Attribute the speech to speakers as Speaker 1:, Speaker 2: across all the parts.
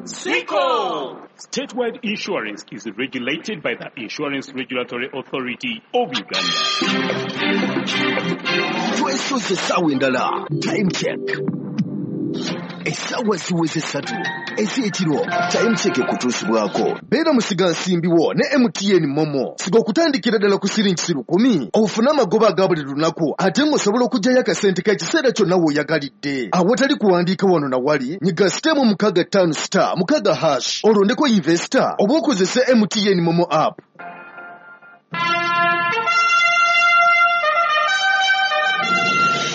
Speaker 1: Swico! Statewide Insurance is regulated by the Insurance Regulatory Authority of Uganda.
Speaker 2: Twesoze essaawa endala. Time check. Essaawa ziweze 3 ez'ekiro. Time check ekutuusibwako. Beera musigansimbi wo ne MTN Momo. Siga okutandikira ddala ku siringi 10,000 ofune amagoba aga buli lunaku ate ng'osobola okuggyayo akasente k'ekiseera kyonna w'oyagalidde. Awatali kuwandiika wano na wali, nyiga *656*6# olondeko investor oba okozese MTN Momo app.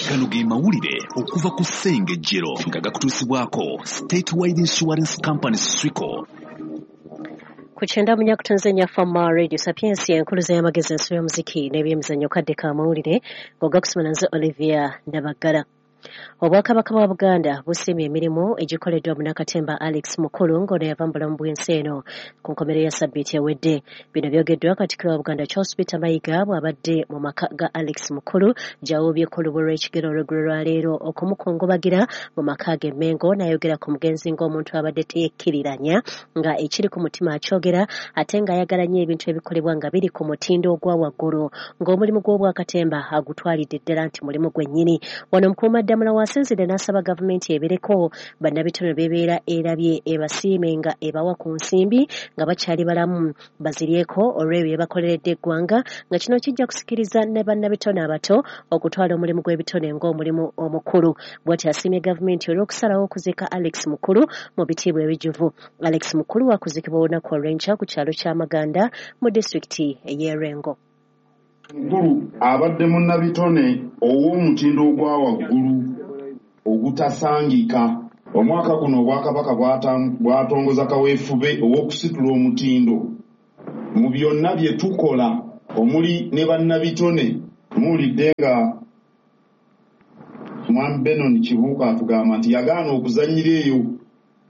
Speaker 3: Gano ge mawulire okuva ku Ssengejjero nga gakutuusibwako Statewide Insurance Company Swico.
Speaker 4: Ku kyenda munyakutunze Fama Radio Sapiensia enkuluza y'amagezi ensi y'omuziki n'ebyemizannyo kadde ka mawulire ng'ogakusoma nze Olivia Nabaggala. Obwakabaka bwa Buganda busiimye emirimu egikoleddwa munnakatemba Alex Mukulu ng'ono yava mu bulamu bw'ensi eno ku nkomerero ya ssabbiiti ewedde. Bino byogeddwa Katikkiro wa Buganda Charles Peter Mayiga bw'abadde mu maka ga Alex Mukulu gy'awuubyeko olubu lw'ekigere olw'eggulo lwa leero okumukungubagira mu maka ge Mmengo, n'ayogera ku mugenzi ng'omuntu abadde teyekkiriranya nga ekiri ku mutima akyogera ate ng'ayagala nnyo ebintu ebikolebwa nga biri ku mutindo ogwa waggulu, ng'omulimu gw'obwakatemba agutwalidde ddala nti mulimu gwennyini. Wano Mukuumaddamula wasinzidde n'asaba gavumenti ebireko bannabitone bebeera erabye ebasiime nga ebawa ku nsimbi nga bakyali balamu baziryeko olw'ebyo bye bakoleredde eggwanga, nga kino kijja kusikiriza ne bannabitone abato okutwala omulimu gw'ebitone ng'omulimu omukulu. Bw'atyo asiimye gavumenti olw'okusalawo okuziika Alex Mukulu mu bitiibwa ebijjuvu. Alex Mukulu wakuziikibwa olunaku olw'enkya ku kyalo kya Maganda mu disitulikiti ey'e Lwengo.
Speaker 5: Mukulu abadde munnabitone ow'omutindo ogwa waggulu ogutasangika. Omwaka guno Obwakabaka bwatongoza kaweefube ow'okusitula omutindo mu byonna bye tukola omuli ne bannabitone. Muwulidde nga Mwami Benon Kibuuka atugamba nti yagaana okuzannyira eyo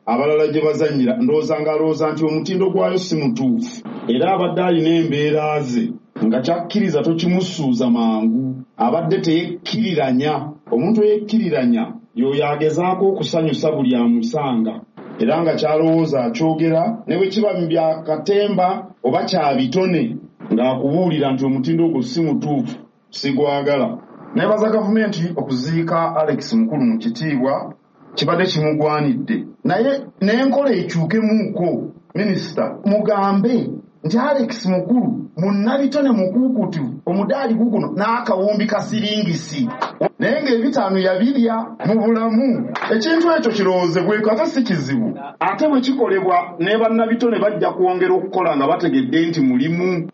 Speaker 5: abalala gye bazannyira, ndowooza ng'alowooza nti omutindo gwayo si mutuufu, era abadde alina embeera ze nga kyakkiriza tokimusuuza mangu. Abadde teyekkiriranya. Omuntu eyekkiriranya y'oyo agezaako okusanyusa buli amusanga, era nga kyalowooza akyogera ne bwe kiba mu bya katemba oba kya bitone, ng'akubuulira nti omutindo ogwo si mutuufu, sigwagala. Neebaza gavumenti okuziika Alex Mukulu mu kitiibwa kibadde kimugwanidde, naye n'enkola ekyukemuuko. Minisita mugambe nti Alex Mukulu munnabitone mukuukutu, omudaali guguno n'akawumbi ka siringisi, naye ng'ebitaano yabirya mu bulamu. Ekintu ekyo kirowoozebweko ate si kizibu, ate bwe kikolebwa ne bannabitone bajja kwongera okukola nga bategedde nti mulimu.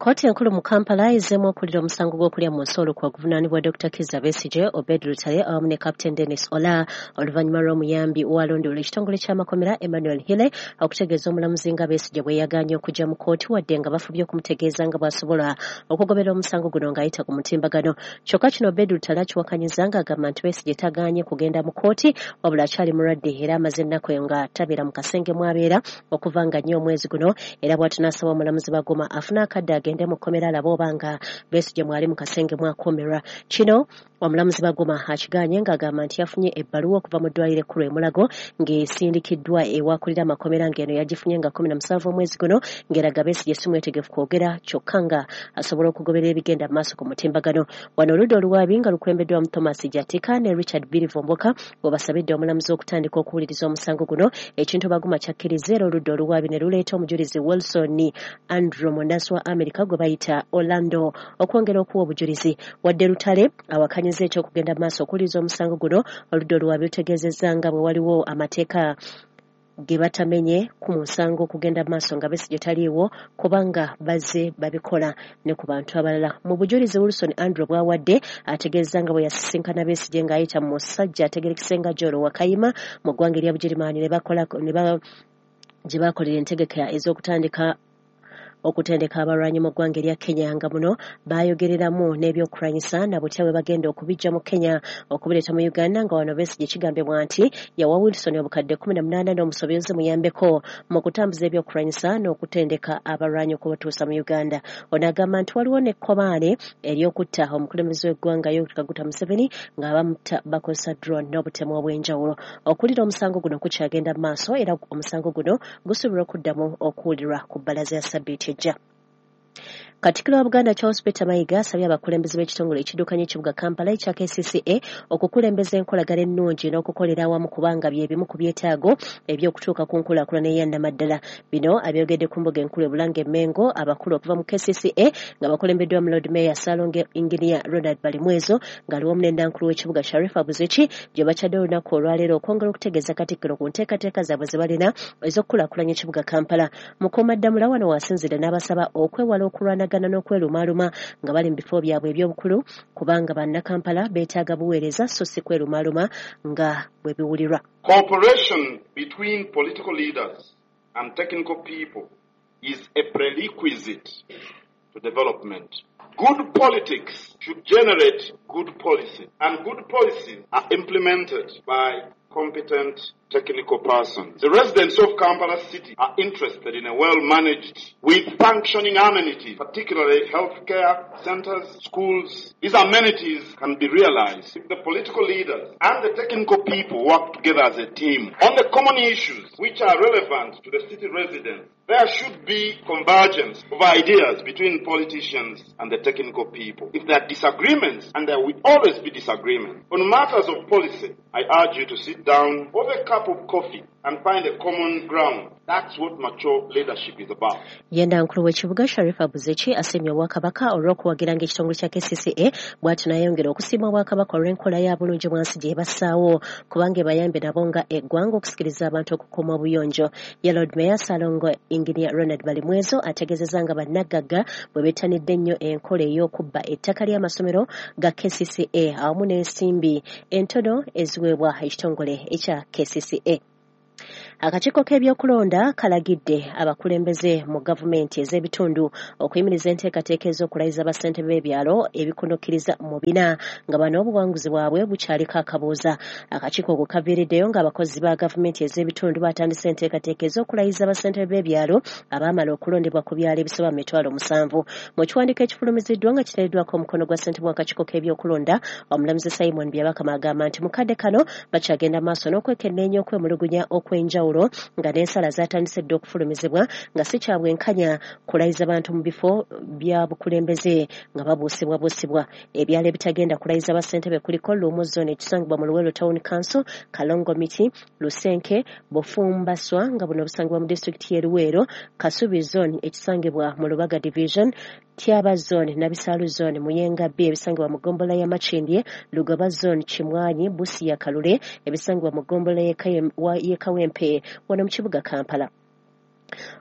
Speaker 4: Kkooti enkulu mu Kampala ezzeemu okuwulira omusango gw'okulya mu nsi olukwe oguvunaanibwa Dr. Kizza Besigye, Obed Lutale awamu ne Captain Dennis Ola oluvannyuma lw'omuyambi w'alondoola ekitongole ky'amakomera Emmanuel Hille okutegeeza omulamuzi nga Besigye bwe yagaanye okujja mu kkooti wadde nga bafubye okumutegeeza nga bw'asobola okugoberera omusango guno ng'ayita ku mutimbagano. Kyokka kino Obed Lutale akiwakanyiza ng'agamba nti Besigye tagaanye kugenda mu kkooti wabula akyali mulwadde era amaze ennaku nga tabeera mu kasenge mw'abeera okuva nga nnyo omwezi guno, era bw'atyo n'asaba omulamuzi Baguma afune akadde agende mu kkomera alabe oba nga Besigye mwali mu kasenge mwakuumirwa. Kino omulamuzi Baguma akigaanye ng'agamba nti yafunye ebbaluwa okuva mu ddwaliro ekkulu e Mulago ng'esindikiddwa ewakulira amakomera ng'eno yagifunye nga 17 omwezi guno ng'eraga Besigye si mwetegefu kwogera kyokka nga asobola okugoberera ebigenda mu maaso ku mutimbagano. Wano oludda oluwaabi nga lukulembeddwamu Thomas Jatika ne Richard Birivumbuka bwe basabidde omulamuzi okutandika okuwuliriza omusango guno, ekintu Baguma kyakkiriza era oludda oluwaabi ne luleeta omujulizi Wilson Andrew munnansi wa Amerika gwe bayita Orlando okwongera okuwa obujulizi. Wadde Lutale awakanyiza eky'okugenda mu maaso okuwuliriza omusango guno, oludda oluwaabi lutegeezezza nga bwe waliwo amateeka ge batamenye ku musango okugenda mu maaso nga Besigye taliiwo kubanga bazze babikola ne ku bantu abalala. Mu bujulizi Wilson Andrew bw'awadde ategeezza nga bwe yasisinkana Besigye ng'ayita mu musajja ategerekese nga Joro Wakayima mu ggwanga erya Bugirimaani ne bakola gye bakolera entegeka ez'okutandika Okutendeka abalwanyi mu ggwanga erya Kenya, nga muno baayogereramu n'ebyokulwanyisa na butya bwe bagenda okubiggya mu Kenya okubireeta mu Uganda, nga wano Besigye kigambibwa nti yawa Wilson obukadde 18 n'omusobozi muyambeko mu kutambuza ebyokulwanyisa n'okutendeka abalwanyi okubatuusa mu Uganda. Ono agamba nti waliwo n'ekkobaane ery'okutta omukulembeze w'eggwanga Yoweri Kaguta Museveni ng'abamutta bakozesa drone n'obutemu obw'enjawulo. Okuwulira omusango guno kukyagenda mu maaso, era omusango guno gusuubirwa okuddamu okuwulirwa ku bbalaza ya ssabbiiti ejja. Katikkiro wa Buganda Charles Peter Mayiga asabye abakulembeze b'ekitongole ekiddukanya ekibuga Kampala ekya KCCA okukulembeza enkolagana ennungi n'okukolera awamu, kubanga bye bimu ku byetaago eby'okutuuka ku nkulaakulana eyannamaddala. Bino abyogedde ku mbuga enkulu e Bulange e Mmengo, abakulu okuva mu KCCA nga bakulembeddwa mu Lord Mayor Ssaalongo Engineer Ronald Balimwezo ng'ali wamu ne Nnankulu w'ekibuga Sharifa Buzeki, gye bakyadde olunaku olwaleero okwongera okutegeeza Katikkiro ku nteekateeka zaabwe ze balina ez'okukulaakulanya ekibuga Kampala. Mukuumaddamula wano w'asinzidde n'abasaba okwewala okulwanagana n'okwerumaaluma nga bali mu bifo byabwe eby'obukulu, kubanga bannakampala beetaaga buweereza so si kwerumaaluma nga bwe biwulirwa.
Speaker 5: Cooperation between political leaders and technical people is a prerequisite to development. Good politics should generate good policy, and good policies are implemented by competent technical persons. The residents of Kampala City are interested in a well-managed with functioning amenities, particularly healthcare centers, schools. These amenities can be realized if the political leaders and the technical people work together as a team on the common issues which are relevant to the city residents. There should be convergence of ideas between politicians and the technical people. If there are disagreements, and there will always be disagreements, on matters of policy, I urge you to sit down over a cup of coffee and find a common ground. That's what mature leadership is about.
Speaker 4: Ye Nnankulu w'ekibuga Sharifa Buzeki asiimye Obwakabaka olw'okuwagiranga ekitongole kya KCCA, bw'atyo n'ayongera okusiima Obwakabaka olw'enkola ya bulungi bwansi gye bassaawo, kubanga ebayambye nabo nga eggwanga okusikiriza abantu okukuuma obuyonjo. Ye Lord Mayor Ssalongo Engineer Ronald Balimwezo ategeezezza nga bannagagga bwe bettanidde ennyo enkola ey'okubba ettaka ly'amasomero ga KCCA awamu n'ensimbi entono eziweebwa ekitongole ekya KCCA. Akakiiko k'ebyokulonda kalagidde abakulembeze mu gavumenti ez'ebitundu okuyimiriza enteekateeka ez'okulayiza bassentebe b'ebyalo ebikunukkiriza mu 4, nga bano obuwanguzi bwabwe bukyaliko akabuuza. Akakiiko ko kaviiriddeyo ng'abakozi ba gavumenti ez'ebitundu batandise enteekateeka ez'okulayiza bassentebe b'ebyalo abaamala okulondebwa ku byalo ebisoba mu 70,000. Mu kiwandiiko ekifulumiziddwa nga kiteereddwako omukono gwa ssentebe w'akakiiko k'ebyokulonda omulamuzi Simon Byabakama, agamba nti mu kadde kano bakyagenda maaso n'okwekenneenya okwemulugunya okw'enjawulo, nga n'ensala zatandise dda okufulumizibwa, nga si kya bwenkanya kulayiza bantu mu bifo bya bukulembeze nga babuusibwabuusibwa. Ebyalo ebitagenda kulayiza bassentebe kuliko Luumu Zone ekisangibwa mu Luweero Town Council, Kalongo Miti, Lusenke, Bufumbaswa nga buno busangibwa mu disitulikiti y'e Luweero, Kasubi Zone ekisangibwa mu Lubaga Division, Tyaba Zone, Nabisaalu Zone, Muyenga B ebisangibwa mu ggombolola ya Makindye, Lugoba Zone, Kimwanyi, Busia, Kalule ebisangibwa mu ggombolola y'e Kawempe wano mu kibuga Kampala.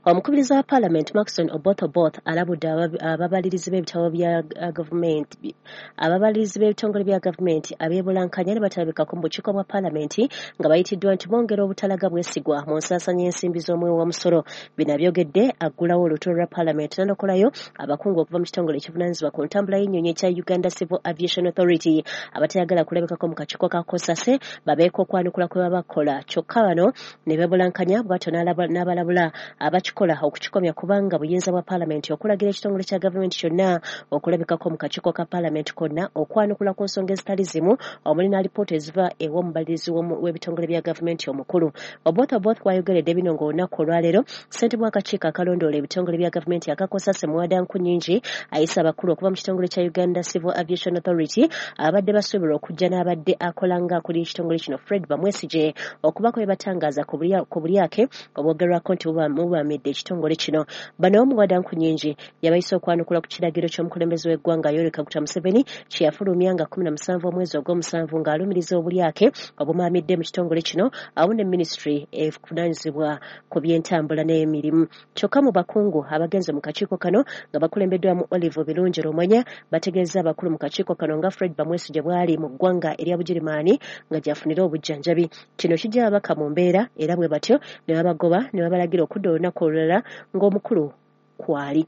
Speaker 4: Omukubiriza wa Paalamenti Maxon Oboth Oboth alabudde ababalirizi b'ebitabo bya gavumenti, ababalirizi b'ebitongole bya gavumenti abeebulankanya ne batalabikako mu bukiiko bwa Paalamenti nga bayitiddwa, nti bongera obutalaga bwesigwa mu nsaasanya y'ensimbi z'omuwi w'omusolo. Bino abyogedde aggulawo olutuula lwa Paalamenti n'anokolayo abakungu okuva mu kitongole ekivunaanyizibwa ku ntambula y'ennyonyi ekya Uganda Civil Aviation Authority abatayagala kulabikako mu kakiiko ka COSASE babeeko okwanukula kwe baba bakola, kyokka bano ne beebulankanya, bw'atyo n'abalabula abakikola okukikomya, kubanga buyinza bwa Paalamenti okulagira ekitongole kya gavumenti kyonna okulabikako mu kakiiko ka Paalamenti konna okwanukula ku nsonga ezitali zimu, omuli n'alipoota eziva ew'omubalirizi w'ebitongole bya gavumenti omukulu. Oboth Oboth wayogeredde bino ng'olunaku olwaleero ssentebe w'akakiiko akalondoola ebitongole bya gavumenti aka COSASE Muwada Nkunyingi ayise abakulu okuva mu kitongole kya Uganda Civil Aviation Authority abadde basuubirwa okujja n'abadde akola ng'akulira ekitongole kino Fred Bamwesigye okubako bye batangaaza ku bulyake obwogerwako nti bubamidde ekitongole kino. Bano Muwada Nkunyingi yabayise okwanukula ku kiragiro ky'omukulembeze w'eggwanga Yoweri Kaguta Museveni kye yafulumya nga 17 omwezi ogw'omusanvu ng'alumiriza obulyake obumaamidde mu kitongole kino awamu ne minisitule evunaanyizibwa ku by'entambula n'emirimu. Kyokka mu bakungu abagenze mu kakiiko kano nga bakulembeddwamu Olive Birungi Rumwenya bategeeza abakulu mu kakiiko kano nga Fred Bamwesigye bw'ali mu ggwanga erya Bugirimaani nga gy'afunira obujjanjabi. Kino kijja ababaka mu mbeera, era bwe batyo ne babagoba ne babalagira okudda olunaku olulala ng'omukulu kwali.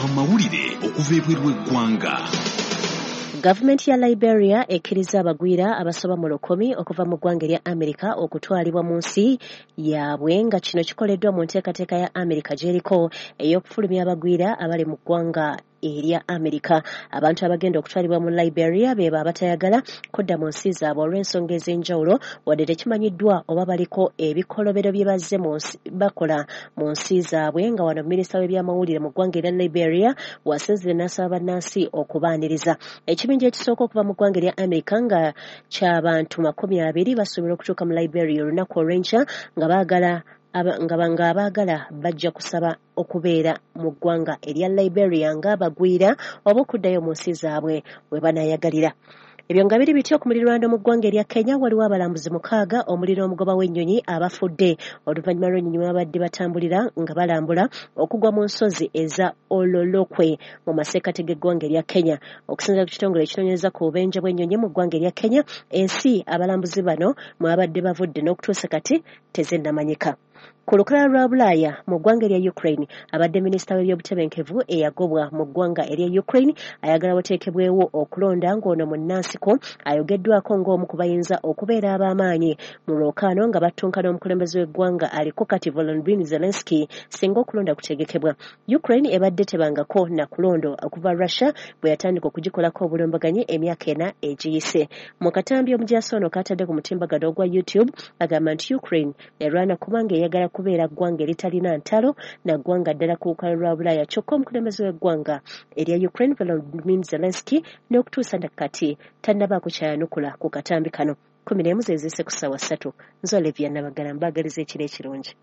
Speaker 3: Amawulire okuva ebweru w'eggwanga.
Speaker 4: Gavumenti ya Liberia ekkiriza abagwira abasoba mu 1,000 okuva mu ggwanga erya Amerika okutwalibwa mu nsi yaabwe, nga kino kikoleddwa mu nteekateeka ya Amerika gy'eriko ey'okufulumya abagwira abali mu ggwanga erya Amerika. Abantu abagenda okutwalibwa mu Liberia beba abatayagala kudda mu nsi zaabwe olw'ensonga ez'enjawulo, wadde tekimanyiddwa oba baliko ebikolobero bye bazze bakola mu nsi zaabwe. Nga wano minisita w'ebyamawulire mu ggwanga erya Liberia wasinzire n'asaba bannansi okubaaniriza. Ekibinja ekisooka okuva mu ggwanga erya Amerika nga ky'abantu 20 basuubirwa okutuuka mu Liberia olunaku olw'enkya, nga baagala nga abaagala bajja kusaba okubeera mu ggwanga erya Liberia ng'abagwira oba okuddayo mu nsi zaabwe we banaayagalira. Ebyo nga biri bityo, ku muliraano mu ggwanga erya Kenya waliwo abalambuzi 6 omuli n'omugoba w'ennyonyi abafudde oluvannyuma lw'ennyonyi babadde batambulira nga balambula okugwa mu nsozi eza Ololokwe mu masekkati g'eggwanga erya Kenya. Okusinziira ku kitongole ekinoonyereza ku bubenje bw'ennyonyi mu ggwanga erya Kenya, ensi abalambuzi bano mwe babadde bavudde n'okutuusa kati tezinnamanyika. Ku lukalala lwa Bulaaya mu ggwanga erya Ukraine, abadde minisita w'ebyobutebenkevu eyagobwa mu ggwanga erya Ukraine ayagala wateekebwewo okulonda, ng'ono munnansiko ayogeddwako ng'omu ku bayinza okubeera ab'amaanyi mu lwokaano nga battunka n'omukulembeze w'eggwanga aliko kati Volodymyr Zelensky singa okulonda kutegekebwa. Ukraine ebadde tebangako na kulonda okuva Russia bwe yatandika okugikolako obulumbaganyi emyaka 4 egiyise. Mu katambi omujaasi ono k'atadde ku mutimbagano ogwa YouTube agamba nti Ukraine erwana kubanga eyagala kubeera ggwanga eritalina ntalo na ggwanga ddala ku lukalu lwa Bulaaya. Kyokka omukulembeze w'eggwanga erya Ukraine Volodymyr Zelensky n'okutuusa kati tannabaako kyayanukula ku katambi kano. 11 zeziise ku ssaawa 3. Nze Olivia Nabagala, mbaagaliza ekiro ekirungi.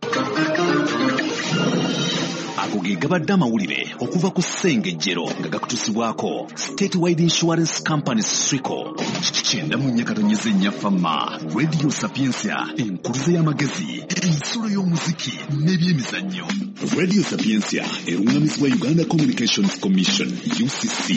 Speaker 3: Ago ge gabadde amawulire okuva ku Ssengejjero nga gakutuusibwako Statewide Insurance Company Swico. 94.4 Fama Radio Sapientia, enkuluze y'amagezi, ensulo y'omuziki n'ebyemizannyo. Radio Sapientia eruŋŋamizibwa Uganda Communications Commission UCC.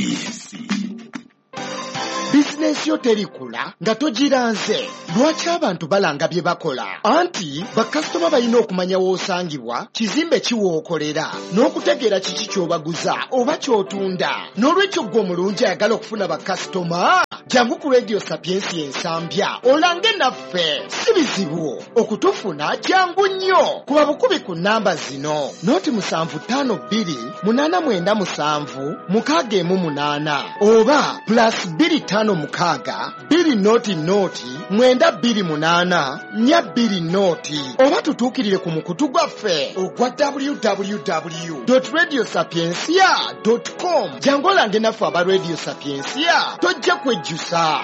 Speaker 2: Bizinensi yo terikula nga togiranze. Lwaki abantu balanga bye bakola? Anti bakasitoma balina okumanya w'osangibwa, kizimbe ki w'okolera, n'okutegeera kiki ky'obaguza oba ky'otunda. N'olwekyo ggwe omulungi ayagala okufuna bakasitoma, jangu ku Radio Sapientia Ensambya olange naffe. Si bizibu okutufuna, jangu nnyo. Kuba bukubi ku nnamba zino: 0752 897 618 oba +256 200 928 420, oba tutuukirire ku mukutu gwaffe ogwa www.radiosapientia.com. Jangu olange naffe aba Radio Sapientia, tojja kwejjusa.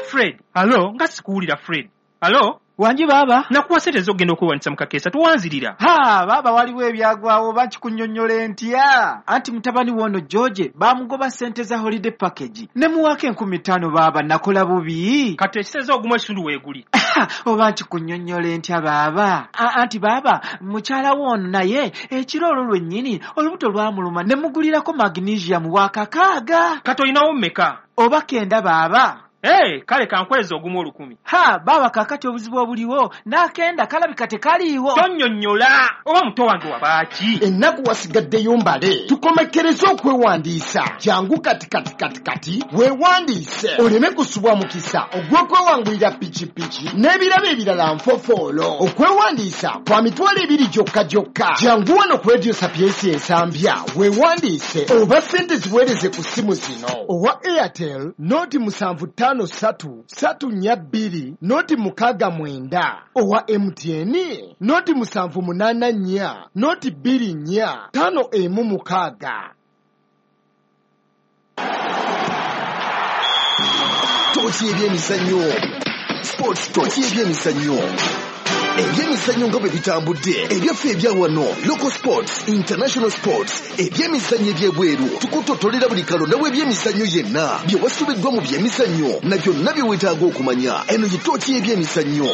Speaker 1: Fred, alo, nga sikuwulira Fred. Alo?
Speaker 6: Wangi baaba.
Speaker 1: Nakuwa ssente ez'okugenda okwewandiisa mu kakeesa, towanzirira.
Speaker 6: Ha, baaba waliwo ebyagwawo oba nkikunnyonnyola ntya? Anti mutabani w'ono George baamugoba ssente za holiday package. Ne muwaako 5,000 baaba, nakola bubi.
Speaker 1: Kati ekiseza ogumu ekitundu weeguli.
Speaker 6: Oba nkikunnyonnyola ntya baaba? Anti baaba, mukyala w'ono naye ekiro olwo lwennyini olubuto lwamuluma ne mugulirako magnesium wa 6.
Speaker 1: Kati olinawo mmeka?
Speaker 6: Oba 9 baaba.
Speaker 1: Hey, kale kankweza ogumu 1,000.
Speaker 6: Ha, baba kakati obuzibu obuliwo n'akenda kalabika tekaliiwo.
Speaker 1: Tonnyonnyola oba muto wange wabaaki.
Speaker 2: Ennaku wasigaddeyo mbale, tukomekkereze okwewandiisa. Jangu kati kati kati kati weewandiise oleme kusubwa mukisa ogw'okwewangulira pikipiki n'ebirabo ebirala nfofoolo. Okwewandiisa kwa 20,000 gyokka gyokka. Jangu wano ku Radio Sapientia Ensambya weewandiise oba ssente ziweereze ku ssimu zino: owa Airtel 075 3 3 4 2 0 69, owa MTN 078 4 0 24 5 16.
Speaker 7: Tooki ebyemizannyo. Sports tooki ebyemizannyo. Ebyemizannyo nga bwe bitambudde, ebyaffe ebya wano, local sports, international sports, ebyemizannyo ebyebweru, tukutotolera buli kalonda w'ebyemizannyo yenna, bye wasubiddwa mu byemizannyo na byonna bye weetaaga okumanya. Eno ye tooki y'ebyemizannyo.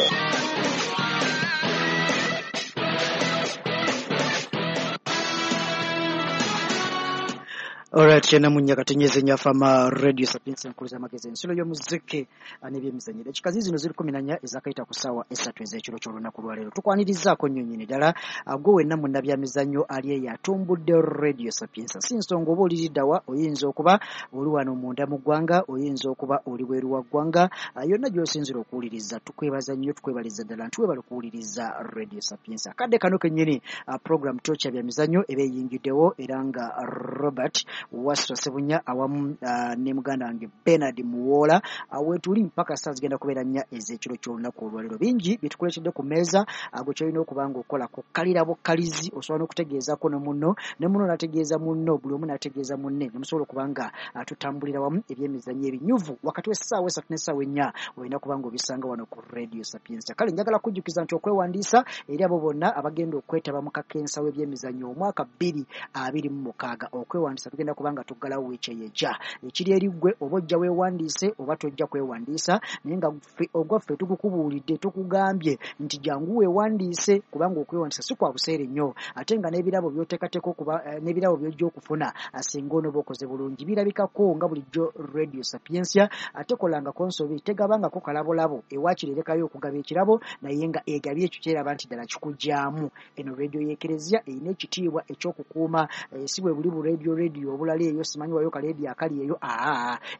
Speaker 8: Alright, kyenda katenyeze nyafama Radio Sapientia nkuliza amagezi ensulo y'omuziki n'ebyemizannyo. Dakika zino ziri 14 ezakayita ku ssaawa 3 ez'ekiro ky'olunaku lwaleero. Tukwanirizaako nnyo nnyini ddala gwe wenna munnabyamizannyo ali eyo atumbudde Radio Sapientia. Si nsonga oba oliriddawa, oyinza okuba oli wano munda mu ggwanga, oyinza okuba oli bweru wa ggwanga, yonna gy'osinzira okuwuliriza. Tukwebaza nnyo, tukwebaliza ddala nti webale okuwuliriza Radio Sapientia. Akadde kano kennyini program Torch ya byamizannyo eba eyingiddewo, era nga Robert Waswa Ssebunya awamu ne muganda wange Bernard Muwoola weetuli mpaka saa zigenda kubeera 4 ez'ekiro ky'olunaku olwaleero. Bingi byetukuleetedde ku mmeeza, gwe kyolina okuba nga okola kukkalira bukkalizi, osobola n'okutegeezaako ne munno, ne munno n'ategeeza munno, buli omu n'ategeeza munne, ne musobola okuba nga tutambulira wamu ebyemizannyo ebinyuvu wakati w'essaawa 3 n'essaawa 4 olina kuba nga obisanga wano ku Radio Sapientia. Kale njagala kujjukiza nti okwewandiisa eri abo bonna abagenda okwetaba mu kakensa w'ebyemizannyo omwaka 2026, okwewandiisa tugenda kubanga tuggalawo wiiki eyo ejja. Ekiri eri ggwe oba ojja weewandiise oba tojja kwewandiisa, naye nga ogwaffe tukukubuulidde, tukugambye nti jangu weewandiise, kubanga okwewandiisa si kwa buseere nnyo, ate nga n'ebirabo by'oteekateeka okuba n'ebirabo by'ojja okufuna singa onooba okoze bulungi birabikako nga bulijjo Radio Sapientia ate kolangako nsobi, tegabangako kalabolabo, ewaakiri erekayo okugaba ekirabo naye nga egabye ekyo kyeraba nti ddala kikugyamu. Eno radio y'Ekereziya erina ekitiibwa ekyokukuuma, si bwe buli bu radio obulala eyo simanyi wayo kaleediyo akali eyo,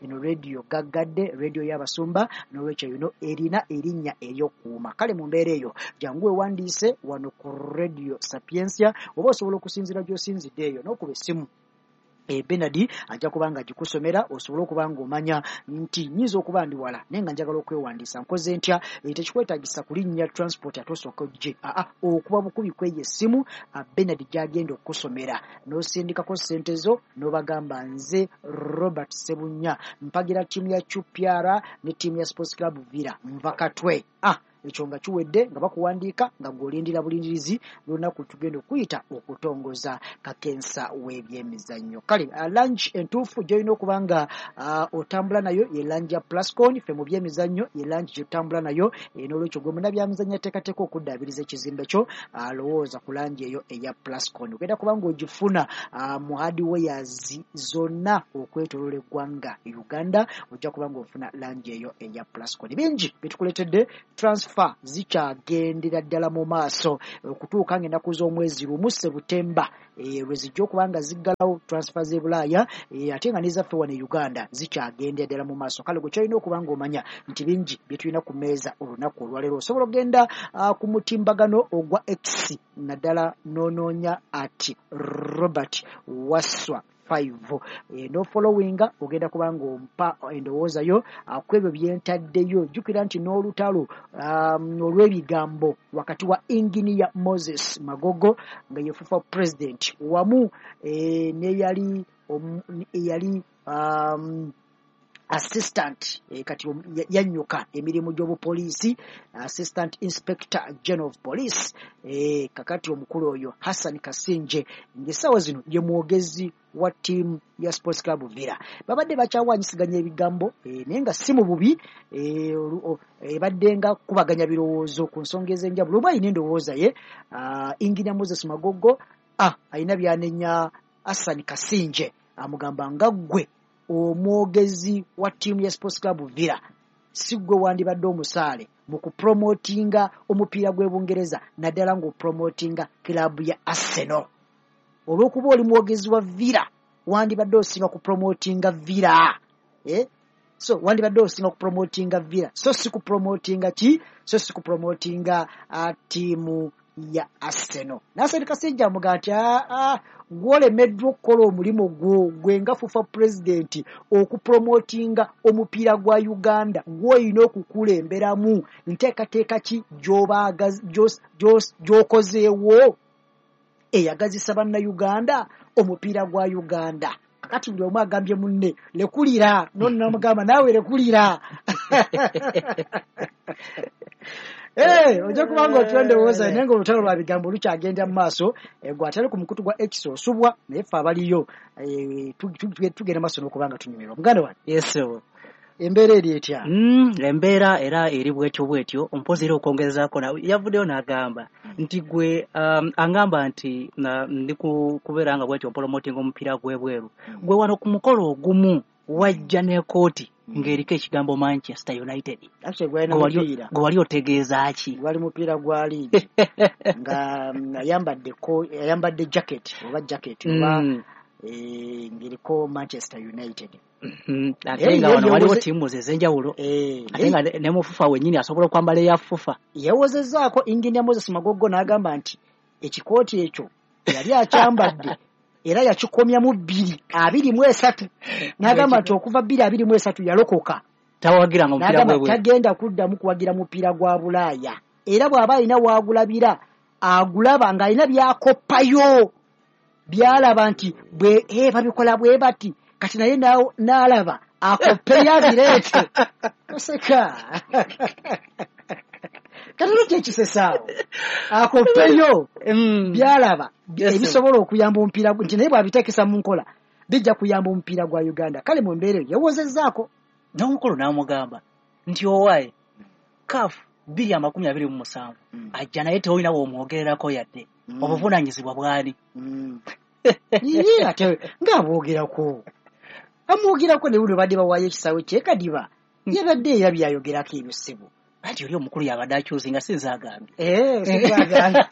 Speaker 8: eno radio gaggadde, radio y'abasumba, n'olwekyo eno erina erinnya ery'okukuuma. Kale mu mbeera eyo jangu weewandiise wano ku Radio Sapientia, oba osobola okusinziira gy'osinzidde eyo n'okuba essimu Bernard ajja kuba nga agikusomera osobole okuba ng'omanya nti nnyinza okuba ndi wala naye nga njagala okwewandiisa, nkoze ntya? Tekikwetaagisa kulinnya transport ate osooke ojje, okuba bukubi kweyo essimu Bernard gy'agenda okukusomera n'osindikako ssente zo n'obagamba nze Robert Ssebunya mpagira ttiimu ya QPR ne ttiimu ya Sports Club Villa nva Katwe. Ekyo nga kiwedde nga bakuwandiika nga gw'olindira bulindirizi lunaku tugenda okuyita okutongoza kakensa w'ebyemizannyo. Kale langi entuufu gy'olina okuba nga otambula nayo ye langi ya Plascon, ffe mu byemizannyo ye langi gy'otambula nayo, n'olwekyo gwe munnabyamizannyo ateekateeka okuddaabiriza ekizimbe kyo lowooza ku langi eyo eya Plascon. Ogenda kuba ng'ogifuna mu hardwares zonna okwetooloola eggwanga Uganda, ojja kuba ng'ofuna langi eyo eya Plascon. Bingi byetukuleetedde, transfer zikyagendera ddala mu maaso okutuuka ng'ennaku z'omwezi 1 Sebutemba lwe zijja okuba nga ziggalawo transfer z'e Bulaaya, ate nga n'ezaffe wano e Uganda zikyagendera ddala mu maaso. Kale gwe kyolina okuba ng'omanya nti bingi bye tulina ku mmeeza olunaku olwaleero. Osobola okugenda ku mutimbagano ogwa X naddala n'onoonya ati Robert Waswa 5 n'ofollowinga, ogenda kuba ng'ompa endowooza yo ku ebyo byentaddeyo. Jjukira nti n'olutalo olw'ebigambo wakati wa Engineer Moses Magogo nga ye FUFA president wamu n'eyali eyali assistant kati yannyuka emirimu gy'obupoliisi, assistant inspector general of police, kakati omukulu oyo Hassan Kasinje ng'essaawa zino ye mwogezi wa ttiimu ya Sports Club Villa. Babadde bakyawanyisiganya ebigambo naye nga si mu bubi, ebadde nga kubaganya birowoozo ku nsonga ez'enjawulo. Oba alina endowooza ye Engineer Moses Magogo alina byanenya Hassan Kasinje, amugamba nga ggwe omwogezi wa ttiimu ya Sports Club Villa si ggwe wandibadde omusaale mu kupromotinga omupiira gw'e Bungereza, naddala ng'opromotinga club ya Arsenal. Olw'okuba oli mwogezi wa Villa wandibadde osinga kupromotinga Villa, so wandibadde osinga kupromotinga Villa, so si kupromotinga ki, so si kupromotinga ttiimu ya Arsenal. Nasser Kasinje amugamba nti gw'olemeddwa okukola omulimu gwo gwe nga FUFA president okupromotinga omupiira gwa Uganda, gw'olina okukulemberamu, nteekateeka ki gy'okozeewo eyagazisa bannayuganda omupiira gwa Uganda. Kakati buli omu agambye munne lekulira, nonamugamba naawe lekulira. Ojja kuba ng'otula ndowooza naye ng'olutalo lwa bigambo lukyagenda mu maaso, gwe atali ku mukutu gwa X osubwa, naye ffe abaliyo tugenda maaso n'okuba nga tunyumirwa. Muganda wange.
Speaker 9: Yes, sir.
Speaker 8: Embeera eri etya?
Speaker 9: Embeera era eri bwetyo bwetyo, mpozi era okwongerezaako yavuddeyo n'agamba nti gwe angamba nti ndi kubeera nga bwetyo promoting omupiira gw'ebweru. Gwe wano ku mukolo ogumu wajja n'ekkooti ng'eriko ekigambo Manchester United. Gwe wali otegeeza ki?
Speaker 8: Gwali mupiira gwa liigi nga ayambadde jacket oba jacket oba ng'eriko Manchester United.
Speaker 9: Ate nga wano waliwo ttiimu ez'enjawulo, ate nga ne mu FUFA wennyini asobola okwambala eya FUFA.
Speaker 8: Yawozezzaako Engineer Moses Magogo n'agamba nti ekikooti ekyo yali akyambadde era yakikomya mu 2023, n'agamba nti okuva 2023 yalokoka,
Speaker 9: tawagiranga omupiira gw'ebweru,
Speaker 8: tagenda kuddamu kuwagira mupiira gwa Bulaaya, era bw'aba alina waagulabira agulaba ng'alina byakoppayo byalaba nti bwe babikola bwe bati, kati naye n'alaba akoppeyo abireete. Oseka kati lwaki ekisesaawo akoppeyo byalaba ebisobola okuyamba omupiira nti naye bw'abiteekesa mu nkola bijja kuyamba omupiira gwa Uganda. Kale mu mbeera eyo yawozezzaako
Speaker 9: n'omukulu n'amugamba nti owaaye CAF 2027 ajja naye tewolina w'omwogererako yadde obuvunaanyizibwa bwani.
Speaker 8: Ye ate ng'abwogerako amwogerako ne wuno badde bawaayo ekisaawe kyekadiba yabadde era byayogerako ebyo ssebo.
Speaker 9: Anti oli omukulu yabadde akyuzi nga sinze agambye.
Speaker 8: Sinze agambye.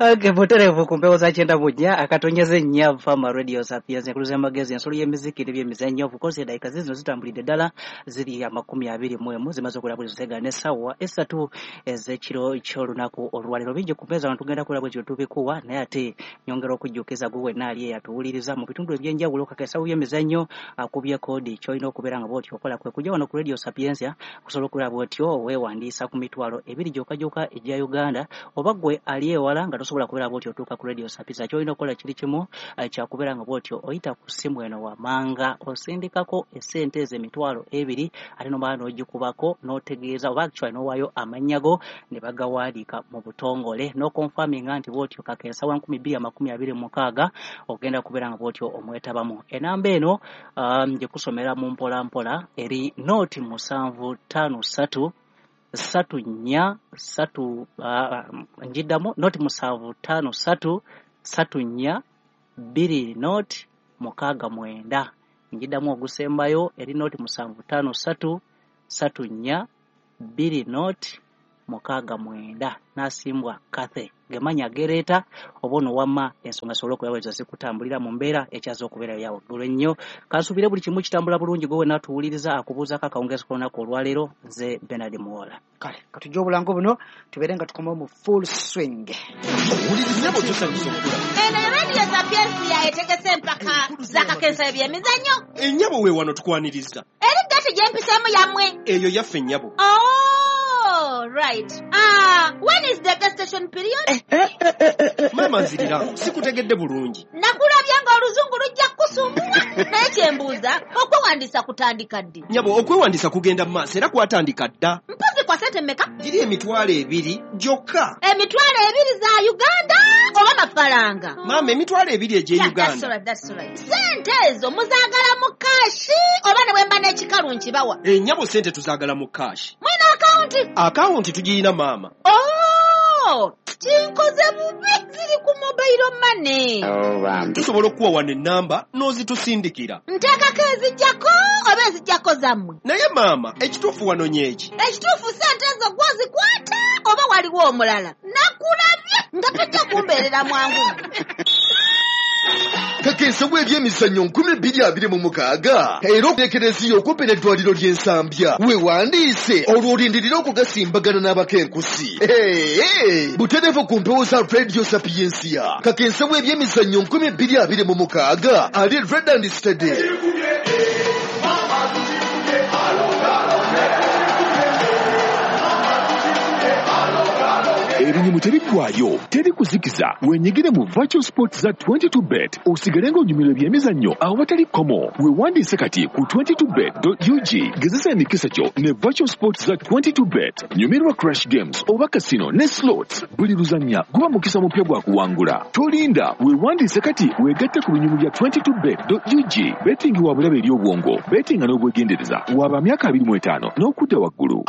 Speaker 9: Okay, butereevu ku mpewo za 94.4 Fama Radio Sapiens, enkuluza y'amagezi, ensolo y'emiziki n'ebyemizannyo. Of course eddakiika zino zitambulidde ddala, ziri 21 zimaze okulaba buli zisega n'essaawa 3 ez'ekiro ky'olunaku olwaleero. Bingi ku mpeeza wano tugenda kulaba bwe tubikuwa, naye ate nyongera okujjukiza gwe wenna ali eyatuwuliriza mu bitundu eby'enjawulo kakesawo by'emizannyo akubye koodi ky'olina okubeera nga bw'otyo okola kwe kujja wano ku Radio Sapientia okusobola okulaba bw'otyo weewandiisa ku 20,000 gyokka gyokka egya Uganda, oba gwe ali ewala nga tosobola kubeera bw'otyo otuuka ku Radio Sapientia, ky'olina okukola kiri kimu kyakubeera nga bw'otyo oyita ku ssimu eno wamanga osindikako essente ezo 20,000, ate nomala n'ogikubako n'otegeeza oba actually n'owaayo amannya go ne bagawandiika mu butongole n'okonfaminga nti bw'otyo kakeesa wa 2026 ogenda kubeera nga bw'otyo omwetabamu. Enamba eno ngikusomera mu mpola mpola, eri 0 753 3 4 3, njiddamu 0 753 3 4 2 0 6 9. Njiddamu ogusembayo eri 0 753 3 4 2 0 6 9. Nasimbwa Kathe gemanya gereeta oba ono wamma ensonga sobole okubeera zikutambulira mu mbeera ekyaza okubeera ya waggulu ennyo. Kansuubire buli kimu kitambula bulungi. Gwe wenna tuwuliriza akubuuzaako akawungeezi k'olunaku olwaleero, nze Bernard Muwola.
Speaker 8: Kale katujje obulango buno tubeere nga tukomawo mu full swing.
Speaker 2: Owuliriza
Speaker 10: tusanyusa okukula.
Speaker 11: Eno Radio Sapientia etegese empaka z'akakensa ebyemizannyo.
Speaker 10: Ennyabo we wano tukwaniriza.
Speaker 11: Eri gati gyempiseemu yammwe?
Speaker 10: Eyo yaffe nnyabo.
Speaker 11: Oh, right. Ah, when is the gestation period?
Speaker 10: Maama nziriramu, sikutegedde bulungi.
Speaker 11: Nakulabye ng'oluzungu lujja kukusumbuwa, naye kyembuuza, okwewandiisa kutandika ddi?
Speaker 10: Nyabo, okwewandiisa kugenda mu maaso era kwatandika dda.
Speaker 11: Mpozi kwa sente mmeka?
Speaker 10: Giri 20,000 gyokka.
Speaker 11: 20,000 za Uganda oba mafaranga?
Speaker 10: Maama, 20,000 egy'e
Speaker 11: Yeah, that's
Speaker 10: Uganda.
Speaker 11: all right, that's all right. Sente ezo muzaagala mu cash oba ne bwe mba n'ekikalu nkibawa?
Speaker 10: Ennyabo, sente tuzaagala mu cash.
Speaker 11: Mwina akawunti?
Speaker 10: Akawunti tugirina maama.
Speaker 11: Oh, kinkoze bubi, ziri ku mobile money.
Speaker 10: Tusobola okuwa wano ennamba n'ozitusindikira.
Speaker 11: Nteekako ezijjako oba ezijjako zammwe?
Speaker 10: Naye maama, ekituufu wanonye eki?
Speaker 11: Ekituufu sente ezo gwozikwata oba waliwo omulala? Nakulabye nga tojja kumbeerera mwangu.
Speaker 2: Kakensa w'ebyemizannyo 2026 era ekereziya okumpi n'eddwaliro ly'Ensambya weewandiise olwo olindirire okugasimbagana n'abakenkusi. Hey, butereevu ku mpewo za Radio Sapiensia, kakensa w'ebyemizannyo 2026 ali ready and steady.
Speaker 3: Ebinyumu tebiggwaayo, teri kuzikiza. Wenyigire mu virtual sports za 22 bet osigale ng'onyumirwa ebyemizannyo awatali kkomo. Weewandiise kati ku 22bet.ug. Gezesa emikisa gyo ne virtual sports za 22 bet. Nyumirwa crash games oba casino ne slots. Buli luzannya guba mukisa mupya gwa kuwangula. Tolinda, weewandiise kati weegatte ku binyumu bya 22bet.ug. Betting wa bulabe eri obwongo, bettinga n'obwegendereza. Waba myaka 25 n'okudda waggulu.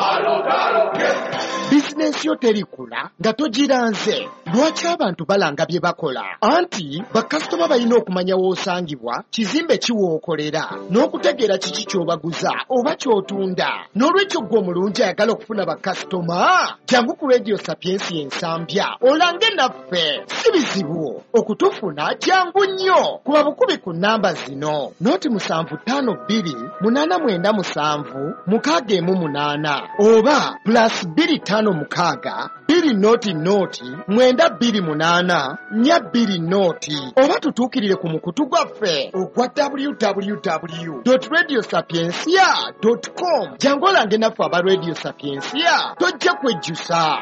Speaker 2: Bizinensi yo terikula nga togiranze. Lwaki abantu balanga bye bakola? Anti bakasitoma balina okumanya w'osangibwa, kizimbe ki w'okolera, n'okutegeera kiki ky'obaguza oba ky'otunda. N'olwekyo ggwe omulungi ayagala okufuna bakasitoma, jangu ku Radio Sapiensia Ensambya olange naffe. Si bizibu okutufuna, jangu nnyo. Kuba bukubi ku nnamba zino: 0 752 897 618 oba +256 200 928 420, oba tutuukirire ku mukutu gwaffe ogwa www radio sapiencia com. Jangu olange naffe aba Radio Sapiencia, tojja kwejjusa.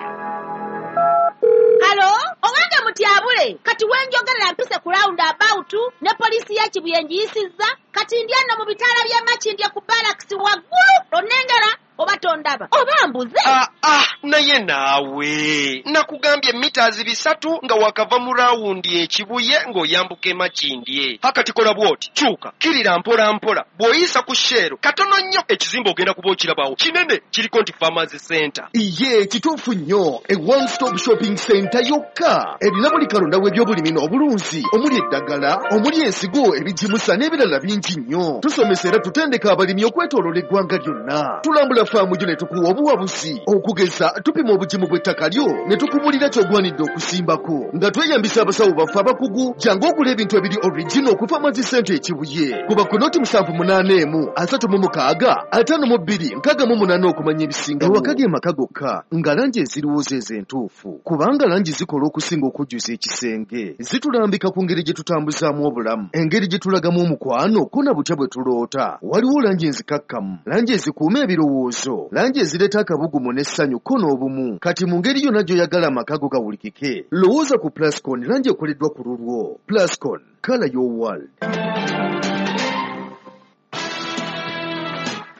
Speaker 11: Hello, owange mutyabule, kati wenjogerera mpise ku round about ne poliisi ya Kibuye ngiyisizza, kati ndi ano mu bitaala by'e Makindye ku barracks waggulu. Onnengera oba tondaba oba mbuze?
Speaker 10: Ah, ah, naye naawe nakugambye mita 300 nga wakava mu rawundi ekibuye ng'oyambuka emakindye. Hakati kola bw'oti, kyuka kirira mpola mpola, bw'oyisa ku Shell katono nnyo ekizimbe ogenda kuba okirabawo kinene kiriko nti Farmers Center.
Speaker 2: Iye, kituufu nnyo. E one stop shopping center yokka erina buli kalonda w'ebyobulimi n'obulunzi, omuli eddagala, omuli ensigo, ebigimusa n'ebirala bingi nnyo. Tusomesa era tutendeka abalimi okwetooloola eggwanga lyonna. Tulambula faamu gyo ne tukuwa obuwabuzi. Okugeza, tupima obugimu bw'ettaka lyo ne tukubulira ky'ogwanidde okusimbako nga tweyambisa abasawo baffe abakugu. Jangu ogula ebintu ebiri original ku Farmers Center Ekibuye. Kuba ku 078 36 52 68 okumanya ebisingawo. Ewaka ge maka gokka nga langi eziriwo zeezo entuufu, kubanga langi zikola okusinga okujjuza ekisenge. Zitulambika ku ngeri gye tutambuzaamu obulamu, engeri gye tulagamu omukwano, ko na butya bwe tuloota. Waliwo langi enzikakkamu, langi ezikuuma ebirowoozo, langi ezireeta akabugumu n'essanyu ko n'obumu. Kati mu ngeri yonna gy'oyagala amaka go gawulikike, lowooza ku Plascon, langi ekoleddwa ku lulwo. Plascon, color your world.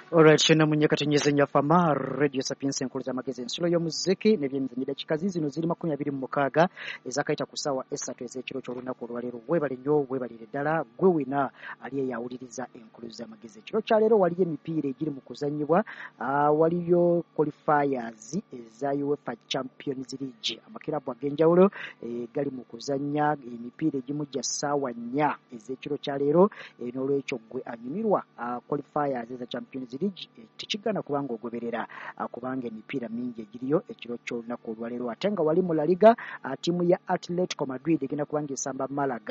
Speaker 8: Alright, shena munye katinyeze nyafama Radio Sapiens enkulu z'amagezi ensulo y'omuziki n'ebyemizannyo. Dakika zino ziri 26 ezakayita ku ssaawa 3 ez'ekiro ky'olunaku olwaleero. Weebale nnyo, weebalire ddala gwe wena ali eyawuliriza enkulu z'amagezi ekiro kyaleero. Waliyo emipiira egiri mu kuzannyibwa, waliyo qualifiers eza UEFA Champions League. Amakirabu ag'enjawulo gali mu kuzannya emipiira egimu gya ssaawa 4 ez'ekiro kyaleero. N'olwekyo gwe anyumirwa qualifiers eza Champions League, tekigaana kubanga ogoberera, kubanga emipiira mingi egiriyo ekiro ky'olunaku olwaleero. Ate nga wali mu La Liga, ttiimu ya Atletico Madrid egenda kubanga esamba Malaga.